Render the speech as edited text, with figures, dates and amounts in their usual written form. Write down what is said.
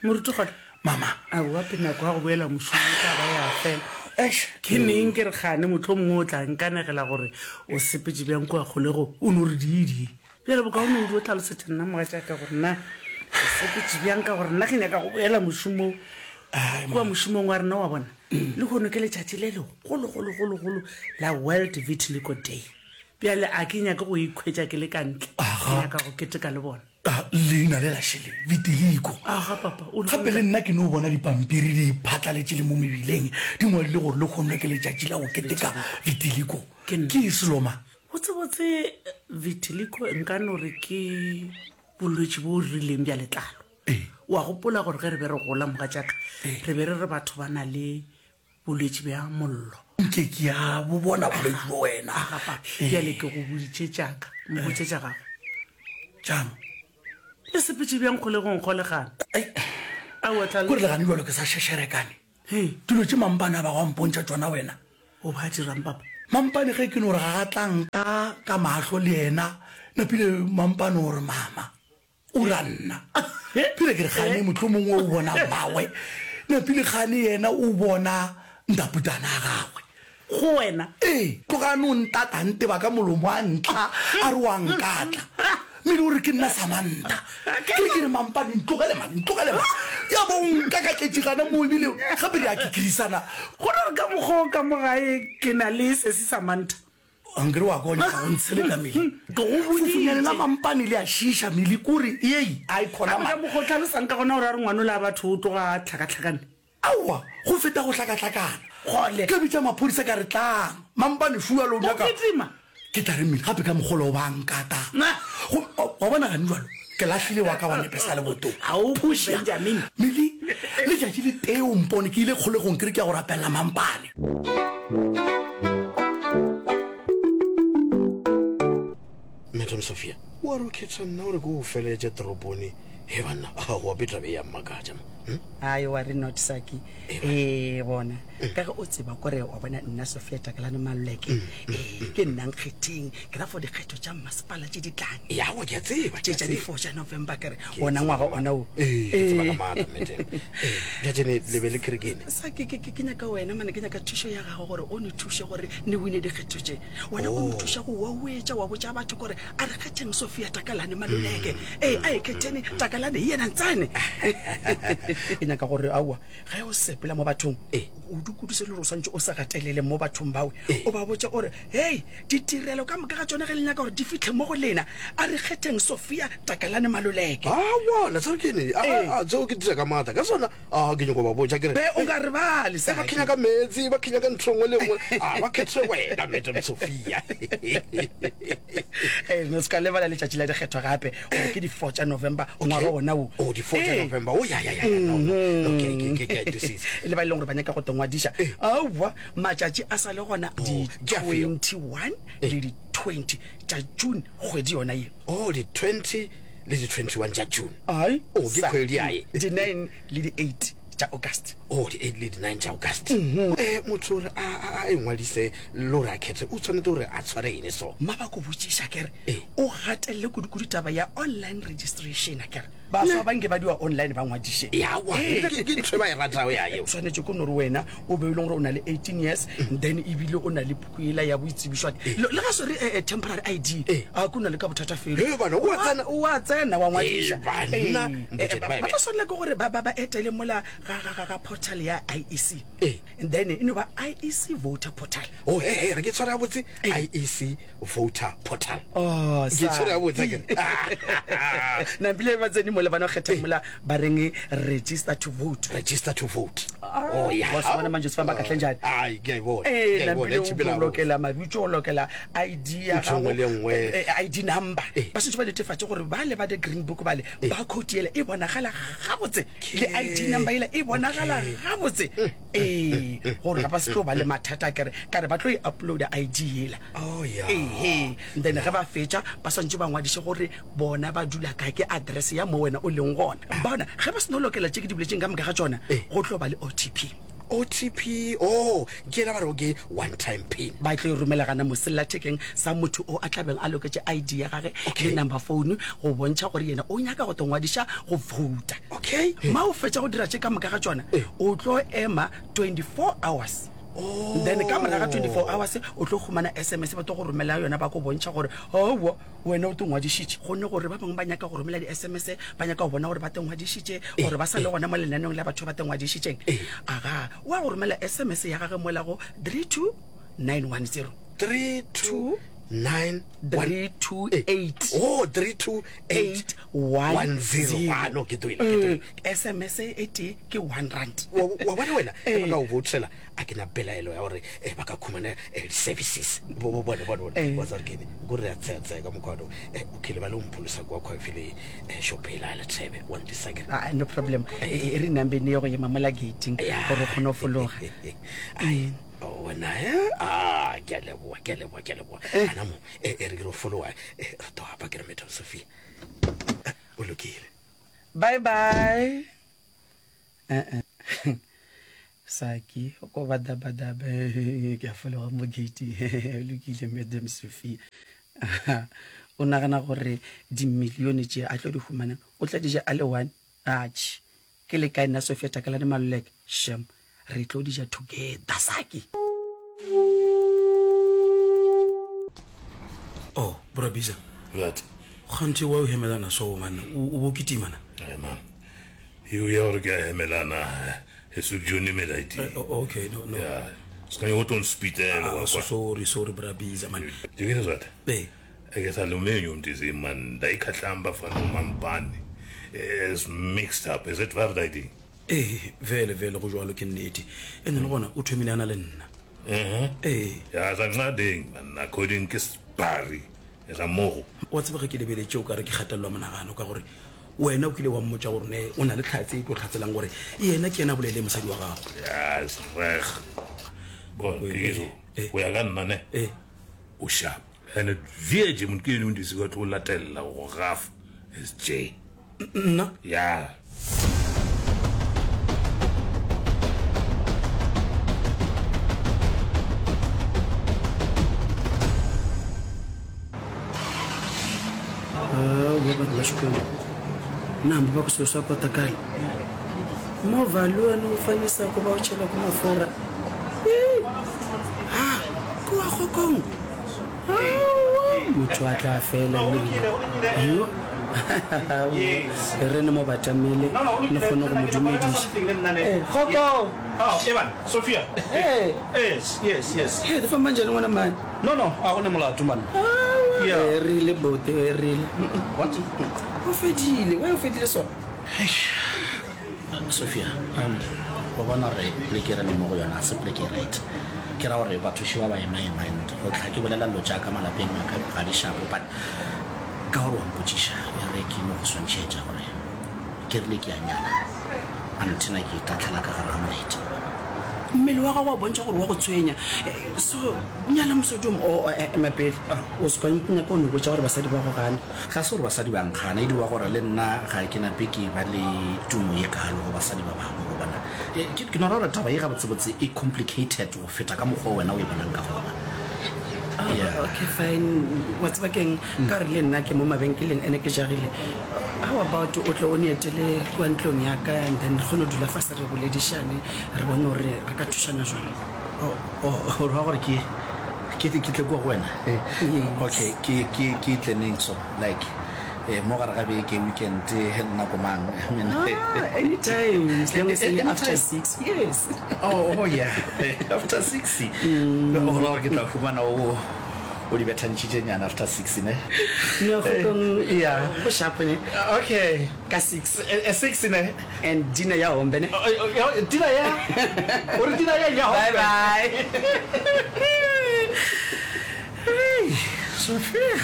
Moruti gona. Mama. Aowa pe nako ya go boela mošomong e tla ba ya fela. Eish. Ke neng ke re gane mohlomongwe o tla nkanegela gore o sepetše bjang kua kgolegong, o no re dii-dii. Bjale bokaone o dio hlalosetša nna mogatšaka gore na o sepetše bjang ka gore nna ke nyaka go boela mošomong. Ai, Kua mama. mošomong wa rena wa bona, lehono ke letšatši le legologologologolo la World Vitiligo Day. Bjale a ke nyake go ikhwetša ke le ka ntle, ke Aga. nyaka go keteka le bona. A, leina le la šele, Vitiligo. Aga, papa, o le Gape le nna ke no bona dipampiri di phatlaletše le mo mebileng, di ngwadile gore lehono ke letšatši la go keteka Vitiligo. Ke nna. Ke selo ma? Botsebotse, Vitiligo nka no re ke bolwetši bo rileng bja letlalo. Ee. O a gopola gore ge re be re gola, mogatšaka, Ee. re be re re batho ba na le bolwetši bja mollo. Nke ke a bo bona bolwetši bo wena. Aga papa, bjale ke go boditše tša ka, mpotše tša gago. Tšang? Le sepetše bjang kgolegong kgolegana? Ai, Aowa, tla. Kore le gane bjalo ke sa šešerekane. Hei. Dilo tše mampane a bago a mpontšha tšona wena. O ba dirang papa? Mampane ge ke no re ga ga tla nka ka mahlo le yena, napile mampane o re mama. O ra nna. Pele ke re gane mohlomongwe o bona mmagwe. Napile gane yena o bona ntaputana a gagwe. Go wena? Ee, tloga a no ntata a nteba ka molomo a ntla a re o a nkatla. Mmele o re ke nna Samantha. Ke re ke re mampane ntlogele man, ntlogele man. Ya ba o nkakatletše gana moo ebile gape re a kikirisana. Go ra gore ka mokgwa o ka mo gae ke na le sesi Samantha. Ankere wa kwa o nyaka go ntsheleka mele. Ke go boditše. Fofunyane la mampane le a šiiša mele kore yei a e khona Gape ka mokgwa o tlhalosang ka gona gore a re ngwanola a batho o tloga a hlakahlakane. Aowa, go feta go hlakahlakana. Kgole. Ka bitša maphodisa ka re tlang. Mampane šua lo O nyaka. kitima. Ke tla re mele gape ka mokgwa o ba nkata. Go, wa bona gane jwalo ke lahlile wa ka wa nepe sa lebotong. Ga o kwe Benjamin. Mele, letšatši le tee o mpone ke ile kgolegong ke re ke ya go rapelela mampane. Madam Sophia, wa re o khetha nna gore ke o feleletše toropone? He banna, aowa be taba e ya mmakatša ma. Hm? Ai wa re not Saki. Ee bona, ka ge o tseba kore wa bona nna Sophia Takalane Maluleke, ee ke nna nkgetheng, ke ra for dikgetho tša mmasepala tše di tlang. Ya wa ke a tseba, Tše ke a tša tseba. di 4 tša November ke re Ke ona tseba ngwaga ka ona wo. Ee, ke tseba ka maatla madam. Ee, bjatšene le be le kerekene. Saki ke ke ke nyaka wena mane ke nyaka thušo ya gago gore o ne thuše gore ne wine dikgetho tše. Wena o no thuša go wauetša wa botša batho gore a re kgetheng Sophia Takalane Maluleke. Ee, a e khetheni Takalane e yena ntsane. Ke nyaka gore aowa ge o sepela mo bathong o dukuduse le gore o swantše o se gatelele mo bathong bawe o ba botše o re hei ditirelo ka moka ga tšona ge le nyaka gore di fitlhe mo go lena a re kgetheng Sophia Takalane Maluleke. Aowa, la tseba ke eng? A, a, tseo ke dira ka maatla ka sona. A ke nyoko ba botša ke re. Be o ka re bale sa. Ba khenya ka meetse, ba khenya ka ntho nngwe le nngwe. A ba khethe wena Madam Sophia. Eh, no se ka lebala letšatši la dikgetho gape gore ke di 4 tša November ngwaga wona wo. Oh, di 4 tša November. Oh, ya ya ya. No, no. Okay, ke ke ke this. Le ba e leng gore ba nyaka go tongwadiša. Aowa, matšatši a sa le gona di 21 le di 20 tša June kgwedi yona ye. Oh, di 20 le di 21 tša June. Ai. Oh, ke kgwedi yae. Di 9 le di 8 tša August. Oh, di 8 le di 9 tša August. Mm -hmm. Eh, motho gore a a a ingwadise le gore a khethe o tshwanetse gore a tshware eng so? Mma ba ko botšiša kere eh. o gatelele kudu-kudu taba ya online registration akere baswa ba nke ba diwa online ba ngwadiše yawa ke ntho e ba e ratago ya eo tshwanetse ko nore wena o be e leng gore o na le 18 years then ebile o na le puku ela ya boitsebišo le ga swere eh, eh, temporary id a ko na le ka bothata felo wa tsena wa ngwadiša ba tla swanela ke gore ba etele mola ga portal ya iec and then e no ba iec voter portal oh hey, hey, re ke tshware gabotse iec voter portal oh, ke tshwere gabotse ke nampile ba tsene mola ba no kgetha mola ba reng register to vote register to vote ah, oh yeah wa se bona manje se famba kahle njani ai ke a e bona eh ke a e bona, nampile e o tšhipela gabotse. lokela mabitso o lokela id ya Ntho e nngwe le e nngwe. eh, eh, id number Eh. ba santse ba netefatše gore ba le ba the green book bale ba code yela e bonagala gabotse le id number yela e bonagala gabotse ee gore ga ba se tlo ba le mathata kere kare ba tlo e uploada id yela Oh, yeah. ehe then ge ba fetša ba swantse ba ngwadiše gore bona ba dula kae ke address ya mo wena o leng gona bona ge ba seno lokela tše ke di boletseng ka moka ga tšona go tlo ba le otp. OTP, oh, ke yela ba rego ke one time pin. Ba tlo e romela gana mo sellathekeng sa motho o a tla beng a loketše ID ya gage Okay. le number phone go bontšha gore yena o nyaka go tlo ngwadiša go vouta. Okay. Ma o fetša go dira tše ka moka ga tšona, o tlo ema 24 hours. Oh. Then ka morago ga 24 hours o tlo humana SMS ba tlo go romela yona ba go bontšha gore aowa wena o te ngwadišitše. Gonne gore ba bangwe ba nyaka go romela di-SMS ba nyaka go bona gore ba te ngwadišitše gore ba sa le gona mo lenaneong la batho ba te ngwadišitšeng. Aga, o a go romela SMS ya gage mola go 32910. 329 328 Oh, 328 810. Ah, no, ke tloile, ke tloile. SMS e tee ke 1 rand. Wa wa bona wena, ge ba ka o voutela, a ke na pelaelo ya gore eh, ba ka khumana eh, di-services. Bo- bo- Bone, bone, bone. Wa tseba gore ke eng? Ko re a tseya-tseya ka mokgwa ono. Eh, o kile ba le o mpholosa kwa kgwafi le eh, shop ela ya Lethebe. Wa ntisa ke re. Ah, no problem. E e re nambeng ye go ema mola gating gore o kgone go fologa. Ai, oh, wena eh? Ah, ke a leboha, ke a leboha, ke a leboha. Ana mo, eh, e re ke re fologa, eh, re tlo apa ke re Madam Sophia. Eh, O lokile. Bye bye. Eh eh. Saki, o ko ba daba daba ke a fologa mo gate. O lokile Madam Sophia. O nagana gore dimilione tše a tlo di humanang o tla di ja a le one? Atšhe. Ke le kae nna Sophia Takalane Maluleke? Shem. Re tlo di ja together Saki. Oh, bra Bisa. What? Kganthe wa o hemelana so man, o o bo kitima na. Hey man. Eo ya gore ke a hemelana e se jone melaedi. Eh, oh, okay, no no. Yeah. Se ka go tlo nspitela Ah, wa so kwa. sorry, sorry bra Bisa man. Dikile zwat. Eh. Eke sa lumenyo mntisi man, ndayikhahlamba fana umampani. It's mixed up. Is it valid ID? Ee, vele vele go jwalo ke nnete. Ene le gona o thomile a na le nna. Mhm. Ee. Ya sa nqadeng man, according ke sbari. Sa mogo. Wa tseba ge ke lebeletše o ka re ke gatelelwa monagano ka gore wena o kile wa mmotša gore ne o na le tlhatse e tlo tlhatselang gore yena ke yena a bolele mosadi wa gago. Ya, is reg. Bon, ke go ya ka nna ne. Eh. O sharp. And VJ motho ke ene o ndisi ka tlo latella go gafa. Is J. Nna? Ya. Aowa batho ba Xikwembu na hambi va ku swilo swa kotakala movha luwani wu fanisaka va wu chelaka mafurha ha ku wa kgokong motho a tla fela le yo e re ne mo batamele le kgone go mo dumediša Eh, kgokong Oh, Evan, Sophia. Eh. Yes, yes, yes. Hey, fa manje le ngwana mane No, no, a go ne molato man. Yeah. e rile bote e rile What? o fedile wa o fedile sona Sophia, wa bona gore poleke e re leng mo go yona ga se poleke e right. Ke ra gore batho še ba ba ema-ema and go tlha ke bolela dilo tša ka malapeng a ka ga di shapo but ka gore wa mpotšiša e re ke no go swantšhetša gore ke rile ke a nyala anthena ke itatlhela ka gare ga molete. Mmele wa gago wa bontšha gore wa go tshwenya. So nyala mosadi o mo. Oh, ema pele. O se ka nyaka go no botša gore basadi ba go gana. Ga se gore basadi ba nkgana, e diwa gore le nna ga ke nape ke ba le tumo ye kaalo go basadi ba bangwe. Gobana ke, ke no ra gore taba ye gabotsebotse e complicated go feta ka mokgwa o wena o e bonang ka gona. Yeah. Okay, fine. Wa tseba ke'ng? Ka gore le nna ke mo mabenkeleng ene ke jagile. How about o tle o ne etele kua ntlong ya ka and then re kgone go dula fase re boledišane re bone gore re ka thušana jwang. Oh, oh, o ra gore ke, ke, ke tle kua go wena? Yes. Okay, ke, ke, ke tle neng so? Like, eh, mo gare ga beke, weekend, nako mang? I mean, Ah, anytime, as long as e le after Anytime. 6. Yes. Oh, oh yeah, after 6. O ra gore ke tla humana o, o di bethantšhitše nyana after 6, ne? No, kgokong, Yeah. go sharp ne? Okay. Ka 6. 6 ne? And dinner ya hombe ne? Dinner ya? O re dinner ya ya hombe? Bye bye. Hey, Sophia.